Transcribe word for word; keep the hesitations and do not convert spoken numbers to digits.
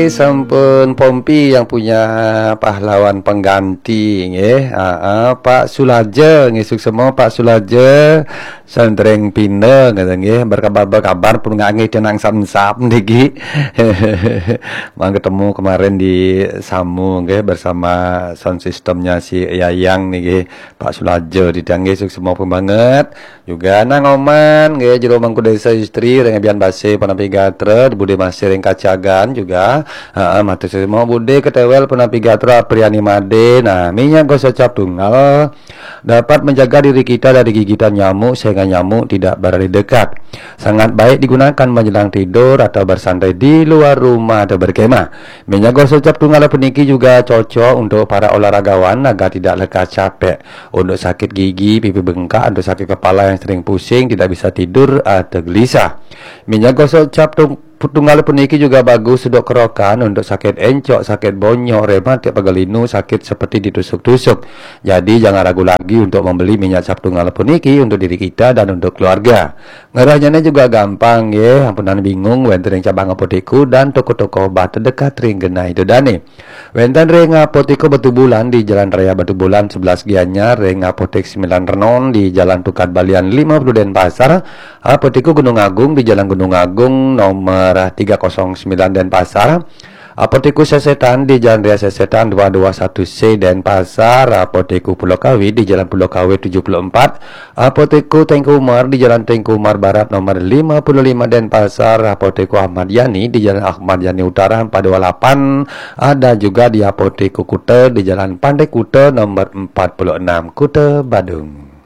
Sampun Pompi yang punya pahlawan pengganti nggih. Heeh, Pak Sulaja nggih, suksma Pak Sulaja. Santring pinda kata nggih, berkabar-berkabar pun nggak nggih tenang sam-sam niki. Mang ketemu kemarin di Samu nggih bersama sound systemnya si Yayang niki. Pak Sulaja di nggih, suksma pun banget. Juga Nang Oman nggih, jero mangku desa istri ring Abian Base Panapi Gatra, Bude Masih ring Kacagan juga. Heeh, matur suksma Bude Ketewel Panapi Gatra Apriani Made. Nah, minyak gosok cap tunggal dapat menjaga diri kita dari gigitan nyamuk sehingga nyamuk tidak berada di dekat. Sangat baik digunakan menjelang tidur atau bersantai di luar rumah atau berkemah. Minyak gosok cap tunggal puniki juga cocok untuk para olahragawan agar tidak lekas capek. Untuk sakit gigi, pipi bengkak, untuk sakit kepala yang sering pusing, tidak bisa tidur atau gelisah. Minyak gosok cap tung- tunggal puniki juga bagus untuk kerokan, untuk sakit encok, sakit bonyok, rematik, pegal linu, sakit seperti ditusuk-tusuk. Jadi jangan ragu lagi untuk membeli minyak cap tunggal puniki untuk diri kita dan untuk keluarga. Ngerahnya juga gampang nggih, ampunang bingung, wenten ring cabang apotek dan toko-toko obat terdekat ring genah ida dane. Wenten ring Apotek Batubulan di Jalan Raya Batubulan sebelas Gianyar, ring Apotek Sembilan Renon di Jalan Tukad Balian lima puluh Denpasar, Apotek Gunung Agung di Jalan Gunung Agung nomor tiga kosong sembilan Denpasar, Apotek Sesetan di Jalan Raya Sesetan dua dua satu C Denpasar, Apotek Pulau Kawi di Jalan Pulau Kawi tujuh puluh empat, Apotek Tengku Umar di Jalan Tengku Umar Barat nomor lima puluh lima Denpasar, Apotek Ahmad Yani di Jalan Ahmad Yani Utara empat dua lapan, ada juga di Apotek Kuta di Jalan Pantai Kuta nomor empat puluh enam Kuta Badung.